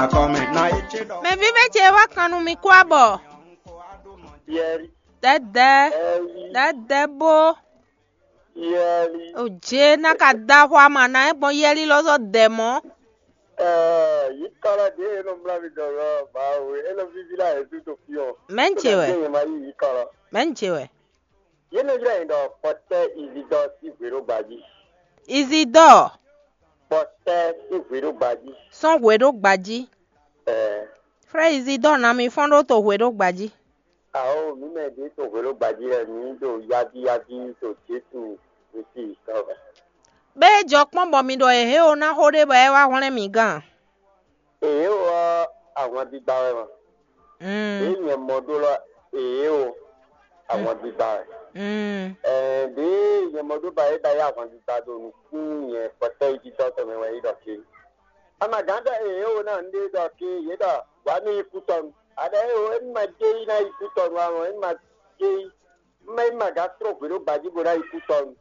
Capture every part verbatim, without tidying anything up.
Mɛ vívɛ́ ce wá kan nú mi kú abɔ. Yɛli, Dɛdɛ, ɛli, dɛdɛ bó. Yɛli. O jé ná ka da xwa ma ná é gbɔn yɛli lɔ zɔ dɛ mɔ. Ɛɛ, yi kɔlɔ ɖe e nɔ mlá mi dɔ lɔ, ba o, e nɔ vivi la e tu to fi ɔ. Mɛ n ce wɛ. Ye ma yi yi kɔlɔ. Mɛ n ce wɛ. Ye nɔ ylɔ́ yin ɖɔ Pɔtɛ Izidɔ sín hwe ɖo gbají. Izidɔ. Pɔtɛ sín hwe ɖo gbají. Sɔn hwe ɖo gbají. Ɛɛ. Frɛ Izidɔ ná mi fɔ́n ɖó to hwe ɖo gbají. Awo, mǐ mɛ ɖě to hwe ɖo gbají lɛ́ɛ, mǐ ɖo yábíyábí to Jezu Kristi tɔn mɛ. Bɛ́ é jɔ kpɔ́n bɔ mi ɖɔ è hě o ná xó ɖé bɔ é wá hwlɛ́n mi gán. Èyí ɔ́, ahwan gbígbá wɛ ma. Ɖěe nyɛ mɔ ɖó lɔ, èyí o, ahwan gbígbá wɛ. Ɛɛ, ɖěe nyɛ mɔ ɖó ba é ba yá ahwan gbígbá ɖo nukún nyɛ kpɔtɛ́ yi tɔn mɛ wɛ é ɖɔ ké. Amagǎn ɖɔ èyí o ná nǔɖé ɖɔ ké, yě ɖɔ wǎ nú yi kú tɔnu. Aɖɔ é o, é ma jé yi ná yi kú tɔnu ǎ, é ma jé yi, é ma gǎ tró hwě ɖó gbají bó ná yi kú tɔnu.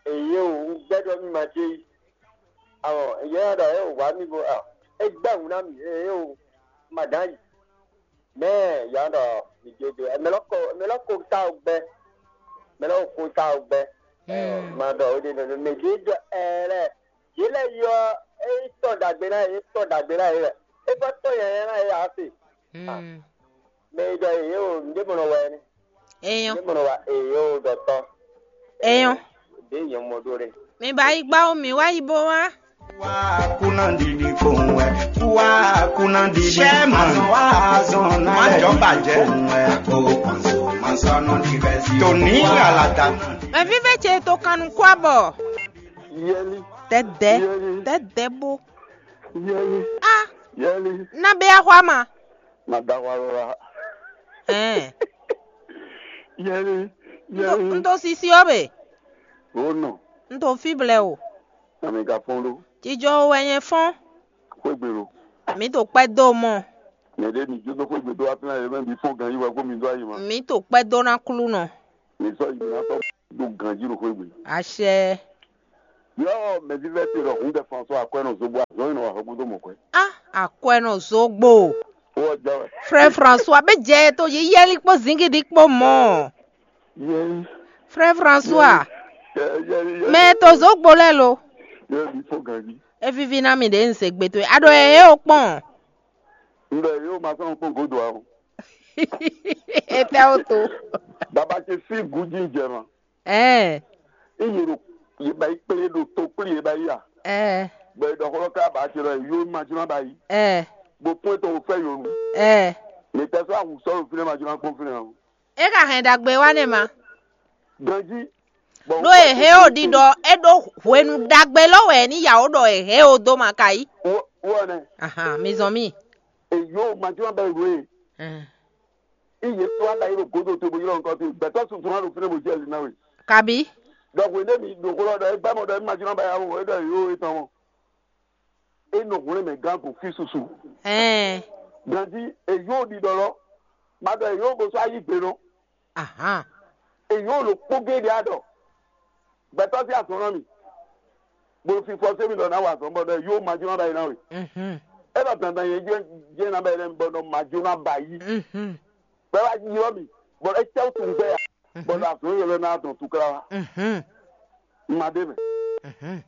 Èyí o, un gbɛ́ ɖɔ mì ma jé yi. Awɔ, yɛ ɖɔ é wǎ mì bo a, é gbɛ́ hǔn ná mì, é o, ma dǎn yi. Mɛ ya ɖɔ mì jé dó, mɛ lɔ ko, mɛ lɔ ko ta o gbɛ, mɛ lɔ ko ta o gbɛ. Ma ɖɔ o ɖe nɔ mɛ ɖě ɖɔ ɛ lɛ, yě lɛ yɔ é tɔ dagbe ná yě, tɔ dagbe ná yě lɛ, é fɔ tɔ yɛyɛ ná yě ase. Mɛ e ɖɔ yě o, nǔɖé mɔ nɔ wɛ nɛ́. Enyɔ. Nǔɖé mɔ nɔ wa èyí o ɖɔtɔ. Enyɔ. Ɖě nyɛ mɔ ɖó ɖe. Mi ba yi gbá o, mi wá yi bó wá. Wá kúná ɖiɖi kpowun wɛ. Wá kúná ɖiɖi. Ṣé màá wá zɔn náà? Má jọ bàjẹ́. Kpowun wɛ. O kɔnso, màá sọ nù di bẹ́ẹ̀ sí. Tòní àlàdà. Mɛ vívɛ ce to kan nukú abɔ. Yɛli. Dɛdɛ. Yɛli. Dɛdɛ bó. Yɛli. A. Yɛli. Na bɛ axwa ma. Na da axwa lɔ la. Ɛɛ. Yɛli. N to, n to sisi ɔ́ be. O nɔ. N to fi blɛ o. Ami ka fɔn ɖo. Jijɔ wɛ nyɛ fɔn. Xwégbe lo. Mi to kpɛ do mɔ. Mɛ ɖe mi jó dó xwégbe dó wá fínà yɛ mɛ mi fɔn gan yi wɛ kó mi dó ayi ma. Mi to kpɛ do na klu nɔ. Mi sɔ yi mi na sɔ do ganji ɖo xwé gbe. Àṣẹ. Yɔ mɛvívɛ́ te ɖɔ hun de François akwɛ́ nɔ zobo azɔn yi nɔ wa hɔgbo dó mɔ kwɛ. A akwɛ́ nɔ zogbo. Wɔ jɛ wɛ. Frère François, bɛ jɛ to yi yɛli kpó zingidi kpó mɔ. Yɛli. Frère François. Yɛli yɛli yɛli. Mɛ to zogbo lɛ lo. Yɛli fo ganji. E vivi na mi ɖe n se gbe to. A ɖo ɛ he o kpɔn. N ɖɔ yóò ma sɔn kpɔn godo a o. Etɛ o to. Baba ce sí gújí jɛ ma. Ɛɛ. Iye ɖo yeba yi kplé ɖo to kplé yeba yi a. Ɛɛ. Bɔ e ɖɔ xɔlɔ ká ba ce lɔ yóò ma jlá ba yi. Ɛɛ. Bo pɔn tɔn o fɛ yonu. Ɛɛ. Mɛ tɛ sɔ awu sɔ lo finɛ ma jlá kpɔn finɛ o. E ka hɛn ɖagbe wa nɛ ma. Ganji. Ɖó e hɛn o ɖiɖɔ e ɖó hwenu ɖagbe lɔ wɛ ní yawo ɖɔ e hɛn o dó ma ka yi. Wɔ nɛ. Ahan, mi zɔn mi. Eyo ma jlá bɛ ro e. Ɛn. Iye tó a ɖa yi ɖo godo to bo ylɔ nukɔ to gbɛtɔ sunsun na ɖo fínɛ bo jɛ ali na we. Kabi. Donc we ne mi ɖo xó lɔ ɖɔ e gbɛ mɔ ɖɔ e ma jlá ba ya wɔ e ɖɔ yo e tɔn mɔ. E nɔ hwlɛn mɛ gán ko fi susu. Ɛn. Ganji eyo ɖiɖɔ lɔ. Ma ɖɔ eyo bo sɔ ayi gbe nɔ. Ahan. Èyí ò lò kpó géɖé á ɖɔ gbɛtɔ́ sí azɔn ná mì, bó fi fɔ sé mi ɖɔ ná wa azɔn bɔ ɖɔ yóò ma jó ná ba yi ná we. Mhm. É ɖɔ dandan yẹn jẹ́ jẹ́ ná ba yi lẹ́nu bɔ ɖɔ ma jó ná ba yi. Mhm. Bɛ́ wá ylɔ́ mì bɔ é cɛ́ wú tunwun gbɛ ya bɔ ɖɔ azɔn yɛlɛ ná dɔn tukla wa. Mhm. Ma ɖé mɛ. Mhm.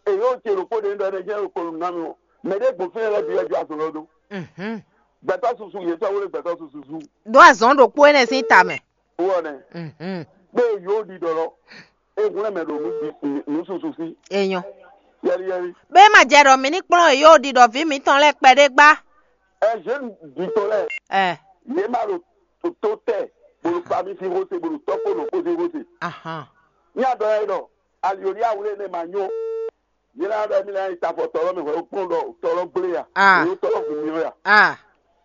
Èyí ò ce ɖokpó ɖe ɖɔ ɛnɛ jẹ́ ɖokpó nú ná mi o. Mɛ ɖé gbɔn fínɛ́ lɛ́ɛ bǐ wɛ jó azɔn lɔ dó. Mhm. Gbɛtɔ́ susu yě sɔ́ wlé gbɛtɔ́ susu sú. Ɖó azɔn ɖokpó énɛ́ sín ta mɛ. Wɔ nɛ. Mhm. Kpé yóò ɖi ɖɔ lɔ. E hwlɛ́n mɛ ɖo nǔ ɖi- nǔ susu sí. Enyɔ. Yɛli yɛli. Bé ma jɛ ɖɔ mǐ ní kplɔ́n yóò ɖi ɖɔ vǐ mǐtɔn lɛ́ɛ kpɛɖé gbá. Ɛ zě ɖi tɔ lɛ. Ɛ. Yě ma ɖo tó tɛ. Bolo pa mi fi xose bolo tɔkpo ɖo xose xose. Ahan. Ní adɔ yɛ ɖɔ alioli awlé ne ma nyó. Yě ná ɖɔ émí lɛ́ɛ nyi tafɔ tɔlɔ mɛ hwɛ kplɔ́n ɖɔ tɔlɔ gblé ya. Ah. Èyí tɔlɔ gblé yɔ ya. Ah.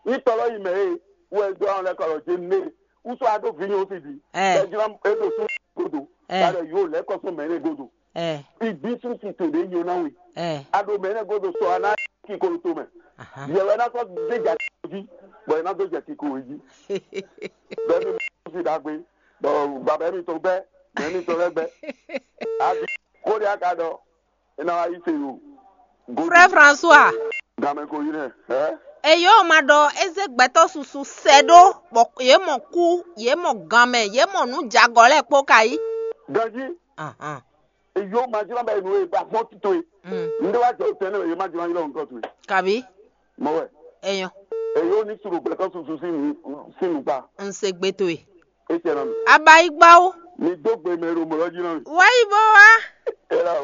Ní tɔlɔ yi mɛ e wɛ dó àwọn lɛ́ kɔ lɔ jɛ nɛ. Wúsɔ adó vi nyɔ fi di. Eh. Bɛ jlá e ɖo sú godo. Eh. Ba ɖe yóò lɛ́ kɔ sún mɛ ne godo. Eh. Ìgbín sún ti tò ɖé nyɔ ná we. Eh. A ɖo mɛ ne godo sɔ a ná kí kolo to mɛ. Aha. Yɛ wɛ ná sɔ dé jà jí. Bɔ ɛ ná dó jà kí kolo jí. Bɛ mi fi dàgbé. Bɔ bàbá mi tó bɛ. Mɛ mi tó lɛ bɛ. A bí kó de a ka dɔ. E ná wá yí se o. Frère François. Gamɛ ko yi nɛ. Ɛ? Eyo ma ɖɔ eze gbɛtɔ́ susu sɛ ɖó bɔ yě mɔ kú, yě mɔ ganmɛ, yě mɔ nǔ jagɔ lɛ́ɛ kpó ka yí. Ganji, Ahan. Eyo ma jlɔ́n bɛ nu e ba fɔ́n tito e. Mm. Nde wa jɔ tɛn ne ye ma jlɔ́n yɔ nǹkan tu e. Kabi Mɔ wɛ. Eyo. Eyo ni suru gbɛtɔ susu sin nu sin nu gba. N se gbe towe. E tɛ na mi. Abayigbawo. Mi do gbe mɛ ɖo mɔlɔ jí na mi. Wayi bó wá. E la wɔ.